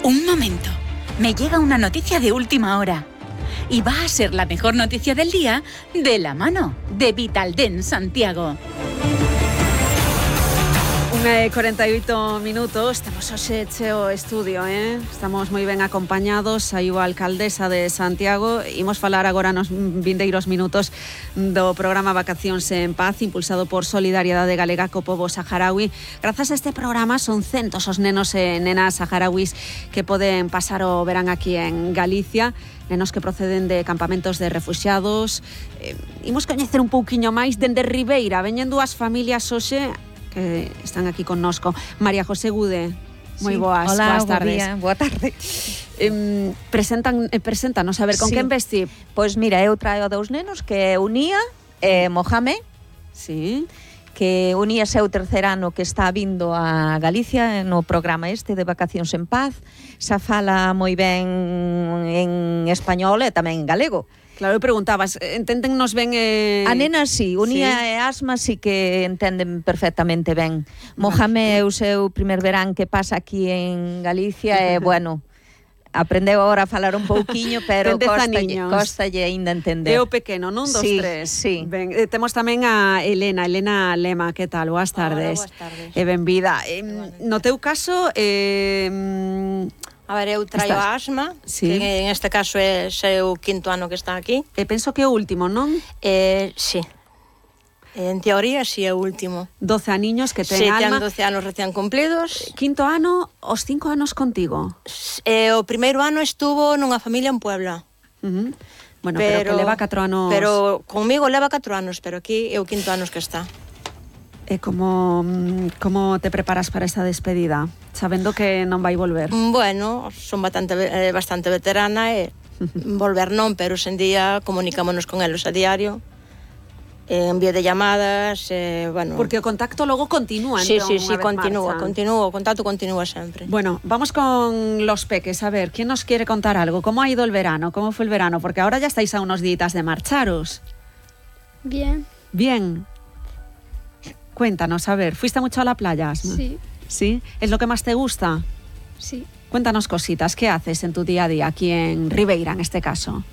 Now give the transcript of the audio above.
Un momento. Me llega una noticia de última hora. Y va a ser la mejor noticia del día de la mano de Vitaldent Santiago. 1:48 minutos, temos hoxe cheo estudio, Estamos moi ben acompañados, aí a alcaldesa de Santiago. Imos falar agora nos vindeiros minutos do programa Vacacións en Paz, impulsado por Solidariedade Galega co pobo saharaui. Grazas a este programa son centos os nenos e nenas saharauis que poden pasar o verán aquí en Galicia, nenos que proceden de campamentos de refuxiados. Imos coñecer un pouquiño máis dende Ribeira, veñen dúas familias hoxe que están aquí connosco. María José Gude, moi boas, hola, boas tardes. Boa tarde. Preséntanos, a ver, con quen vesti? Pois mira, eu traio dous nenos que é Unía e Mohamed, Sí. que Unía é o terceiro ano que está vindo a Galicia no programa este de Vacacións en Paz. Xa fala moi ben en español e tamén en galego. Claro, preguntabas, enténdennos ben... A nena sí, Unía e Asma sí que entenden perfectamente ben. Mohamed é o seu primer verán que pasa aquí en Galicia e, bueno, aprendeu agora a falar un pouquiño, pero costalle aínda entender. É o pequeno, non? Dos tres. Sí. Ben, temos tamén a Elena Lema, que tal? Boas tardes. Hola, boas tardes. E benvida. No teu caso... A ver, eu traio a Asma, sí, que en este caso é o quinto ano que está aquí. Penso que é o último, non? Sí. En teoría, sí, é o último. 12 aniños que ten sí, Alma. Sí, ten 12 anos recién cumplidos. Quinto ano, os 5 anos contigo. O primeiro ano estuvo nunha familia en Puebla. Bueno, pero que leva 4 anos... Pero conmigo leva 4 anos, pero aquí é o quinto anos que está. E como te preparas para esa despedida, sabendo que non vai volver? Bueno, son bastante veterana e volver non, pero hoxe en día comunicámonos con eles a diario, envío de llamadas, bueno... Porque o contacto logo continúa, sí, entón, sí, continúa, o contacto continúa sempre. Bueno, vamos con los peques, a ver, ¿quién nos quiere contar algo? ¿Cómo ha ido el verano? ¿Cómo fue el verano? Porque ahora ya estáis a unos días de marcharos. Bien. Bien. Cuéntanos, a ver, ¿fuiste mucho a la playa, Asma? Sí. ¿Sí? ¿Es lo que más te gusta? Sí. Cuéntanos cositas, ¿qué haces en tu día a día aquí en Ribeira, en este caso?